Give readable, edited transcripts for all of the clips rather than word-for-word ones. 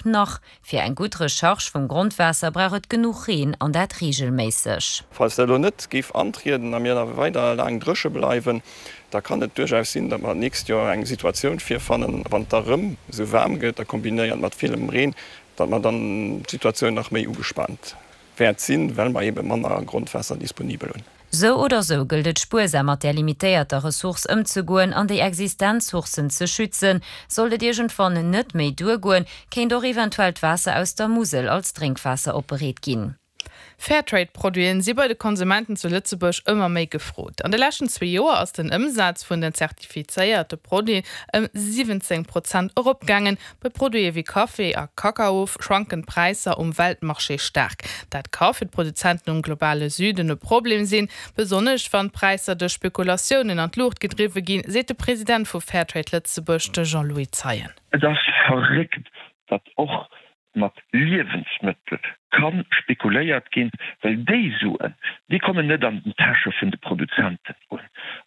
op nach. Fir eng gutt Recharge vum Grondwaasser brauch et genuch Reen an dat reegelméisseg. Falls dat elo net géif antrieden a mir da weider laang dréche bleiwen, da kann et duerchaus sinn, datt mer d'nächst Joer eng Situatioun virfannen, wann et da rëm esou waarm gëtt a kombinéiert mat villem Reen, datt mer dann d'Situatioun nach méi ugespaant wäert sinn, well mer eebe manner Grondwaasser disponibel hunn. Sou oder sou gëllt et spuersam mat där limitéierter Ressource ëmzegoen an déi existent Sourcen ze schützen. Sollt et iergendwann net méi duergoen, kéint och eventuell d'Waasser aus der Musel als Drénkwaasser opbereet ginn. Fairtrade-Produiten si bei de Konsumenten zu Lëtzebuerg ëmmer méi gefrot. An de leschten zwee Joer ass den Ëmsaz vun den zertifizéierte Produiten ëm 17 Prozent eropgaangen. Bei Produite wéi Café a Kakao schwanken d'Präisser um Weltmarché staark. Dat ka fir d'Produzenten um globale Süden e Problem sinn, besonnesch wann d'Präisser duerch Spekulatiounen an d'Luucht gedriwwe ginn, seet de President vu Fairtrade Lëtzebuerg, de Jean-Louis Zeien. Et ass verréckt, datt och mat Liewensmëttel ka spekuléiert ginn, well déi Suen, déi kommen net an den Täsche vun de Produzenten un.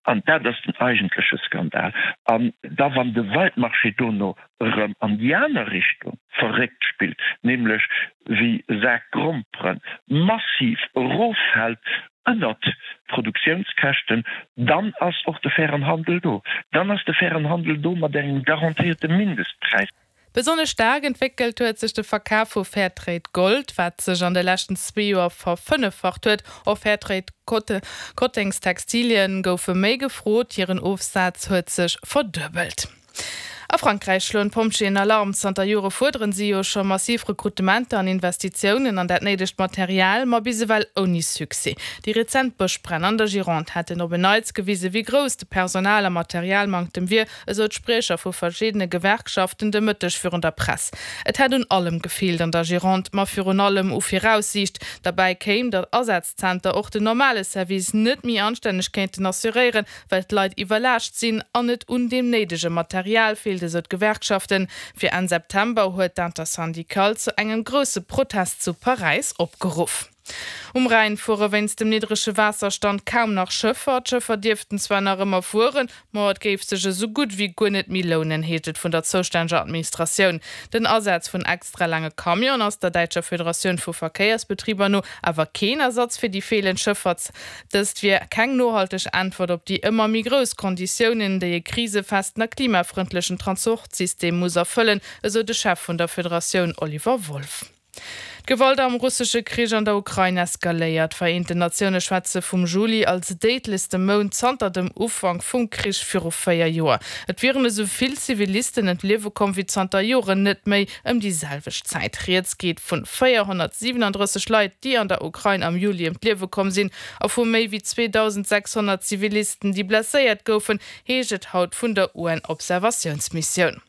An dat ass den eigentleche Skandal. An da wann de Weltmarché dono erëm an déi aner Richtung verréckt spillt, nämlech wéi Sak Grompere massiv eroffält ënnert d'Produktiounskäschten, dann ass och de fairen Handel do. Dann ass de fairen Handel do mat engem garantéierte Mindestpräis. Besonnesch staark entwéckelt huet sech de Verkaf vu Fairtrade Gold, wat sech an de leschten zwee Joer verfënneffacht huet. Och Fairtrade Kotténgstextilien goufe méi gefrot, hiren Ofsaz huet sech verduebelt. A Frankräich schloen d'Pompjeeën Alarm. Zanter Jore fuerderen si jo scho massiv Rekrutementer an Investitiounen an dat néidegt Material, ma bis ewell ouni Succès. Déi rezent Bëschbränn an der Gironde hätten op en Neits gewisen, wéi grouss de Personal a Materialmanktem wier, esou d'Spriecher vu verschiddene Gewerkschaften de Mëtteg virun der Press. Et hätt un allem gefeelt an der Gironde, ma virun allem u Viraussiicht. Derbäi kéim, datt Asazzenter och den normale Service net méi anstänneg kéinten assuréieren, well d'Leit iwwerlaascht sinn an et un deem néidege Material feelt, esou d'Gewerkschaften. Fir Enn September huet d'Intersyndicale zu engem grousse Protest zu Paräis opgeruff. Um Rhäin fuere wéinst dem niddrege Waasserstand kaum nach Schëffer. D'Schëffer dierften zwar nach ëmmer fueren, ma et géif sech esou gutt wéi guer net méi lounen, heescht et vun der zoustänneger Administratioun. Den Asaz vun extra laange Camionen ass der däitscher Federatioun vu Verkéiersbetriber no awer keen Ersatz fir déi feelend Schëffer. Dëst wier keng nohalteg Äntwert op déi ëmmer méi grouss Konditiounen, déi e krisefesten a klimafrëndlechen Transportsystem muss erfëllen, esou de Chef vun der Federatioun Oliver Wolff. D'Gewalt am russesche Krich an der Ukrain eskaléiert. D'Vereenten Natioune schwätze vum Juli als déidlechste Mount zanter dem Ufank vum Krich viru 4 Joer. Et wieren esou vill Zivilisten ëm d'Liewe komm wéi zanter Joren net méi ëm déi selwecht Zäit. Rieds geet vun 437 Leit, déi an der Ukrain am Juli ëm d'Liewe komm sinn a vu méi wéi 2.600 Zivilisten, déi blesséiert goufen, heescht et haut vun der UN-Observatiounsmissioun.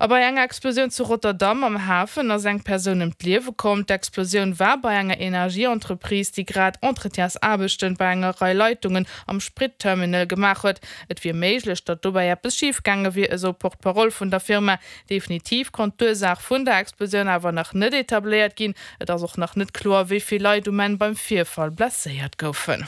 A bei enger Explosioun zu Rotterdam am Hafen ass eng Persoun ëm d'Liewe komm. D'Explosioun war bei enger Energieentreprise, déi grad Entretiensaarbechten bei enger Rei Leitungen am Spritterminal gemaach huet. Et wier méiglech, datt dobäi eppes schif gaange wier, esou d'Porte-parole vun der Firma. Definitiv konnt d'Ursaach vun der Explosioun awer nach net etabléiert ginn. Et ass och nach net kloer, wéi vill Leit um Enn beim Virfall blesséiert goufen.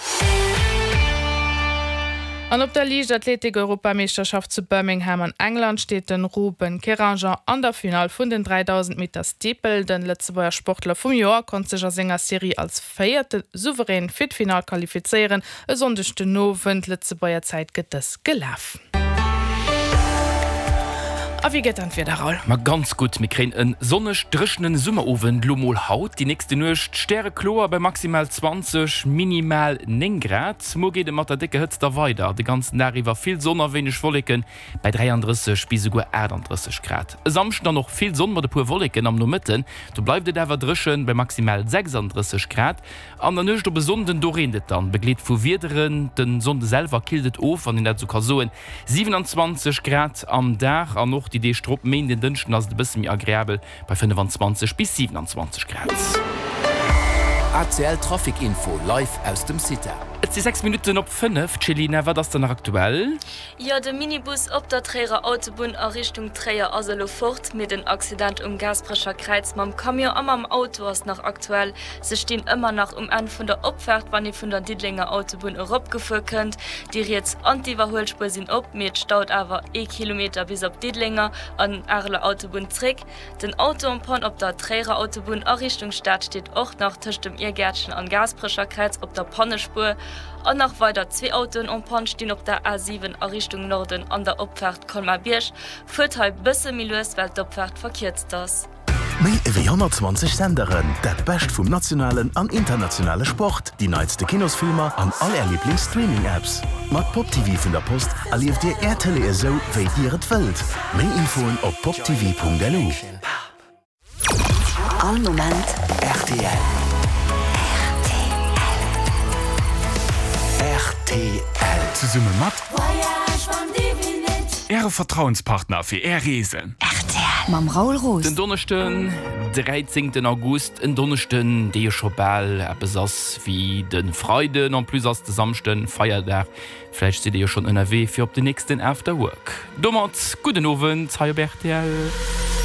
An op der Liichtathletik-Europameeschterschaft zu Birmingham an England steet de Ruben Keranger an der Finall vun den 3000 Meter Steeple. De Lëtzebuerger Sportler vum Joer konnt sech a senger Serie als Véierte souverän fir d'Finall qualifizéieren. E Sonndeg den Owend, Lëtzebuerger Zäit, gëtt dës gelaf. A wéi gëtt dann d'Wieder, Raoul? Ma ganz gutt, mir kréien en sonneg dréchenen Summerowend lo mol haut. Déi nächste Nuecht stärekloer bei maximal 20, minimal 9 Grad. Muer geet et mat der décker Hëtzt da weider, de ganzen Dag iwwer vill Sonn a wéineg Wolleken bei 33 bis esouguer 38 Grad. E Samschden dann och vill Sonn mat e puer Wolleken am Nomëtten, do bleift et awer dréchen bei maximal 36 Grad. An der Nuecht op e Sonnden, do reent et dann, begleet vu Wiederen. Den Sonnde selwer killt et of, wann een dat esou ka soen, 27 Grad am Dag an och déi Deeg drop, Méinden, Dënschden, ass et e bësse méi agreabel bei 25 bis 27 Grad. ACL Trafic Info live aus dem CITA. Et si 6 Minutten op 5. Céline, wat ass dann nach aktuell? Jo, de Minibus op der Tréierer Autobunn a Richtung Tréier ass elo fort, mee den Accident um Gaasperecher Kräiz mam Camion a mam Auto ass nach aktuell. Se stinn ëmmer nach um Enn vun der Opfaart, wann ee vun der Diddelenger Autobunn eropgefuer kënnt. Déi riets an d'Iwwerhuelspuer sinn op, mee et staut awer ee Kilometer bis op Diddelenger an Areler Autobunn zréck. Den Auto en panne op der Tréierer Autobunn a Richtung Stad steet och nach tëscht dem Irgäertchen an Gaasperecher Kräiz op der Pannespuer. An nach weider zwee Autoen en panne stinn op der A7 a Richtung Norden an der Opfaart Colmar-Bierg. Fuert hei bësse méi lues, well d'Opfaart verkierzt ass. Méi ewéi 120 Senderen, dat Bescht vum nationalen an internationale Sport, déi neitste Kinosfilmer an all Är Liiblings-Streaming-Apps. Mat Pop TV vun der Post erlieft Dir Är Tëlee esou, wéi Dir et wëllt. Méi Infoen op poptv.lu. All Moment rtl. Rtl. Zesumme mat Äre Vertrauenspartner fir Är Reesen. Rtl. Mam Raoul Roos. Den Donneschden, 13 August, en Donneschden, dee jo scho bal eppes ass wéi de Freiden. En plus ass de Samschden Feierdag. Vläicht sidd Dir jo schonn ënnerwee fir op den nächsten After Work. Domat gudden Owend hei op rtl.